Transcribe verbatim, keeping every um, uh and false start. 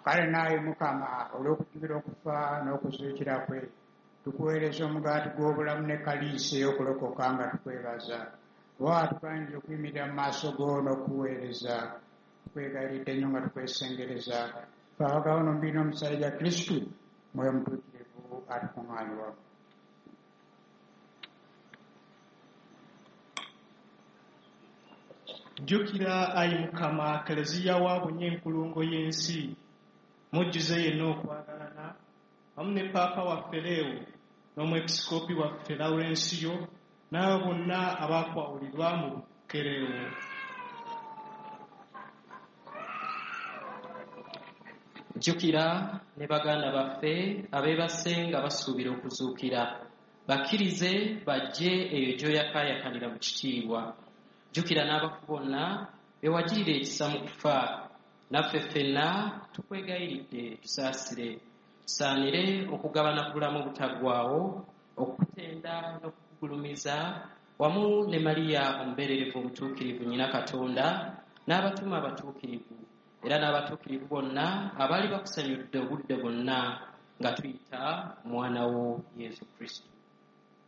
Kale naawe Mukama, olw'okujjukira okufa n'okuzuukira kwe, tukuweereza omugaati gw'obulamu ne kaliisi ey'okulokoka nga tukwebaza. Kuba watugaanyiza okuyimirira mu maaso go n'okukuweereza, tukwegayiridde nnyo nga tukwesengereza. Ffe abagabana omubiri n'omusaayi gwa Kristu, Mwoyo Mutuukirivu atukuŋŋaanye wamu. Jjukira, ayi Mukama, Keleziya wa bunye enkulungo y'ensi, mujjuze yenna okwagalana, wamu ne Paapa waffe Leewo n'Omwepisikoopi waffe Lawulensiyo n'abo bonna abaakwawulirwa mu bukereewo. Jjukira ne baganda baffe abeebase nga basuubira okuzuukira, bakkirize bajje eyo gy'oyakaayakanira mu kitiibwa. Jjukira n'abafu bonna be wagirira ekisa mu kufa, naffe ffenna tukwegayiridde tusaasire, tusaanire okugabana ku bulamu obutaggwaawo, okukutenda n'okukugulumiza wamu ne Mariya omubeererevu omutuukirivu nnyina Katonda n'abatume abatuukirivu, era n'abatuukirivu bonna abaali bakusanyudde obudde bwonna nga tuyita omwana wo Yesu Kristo.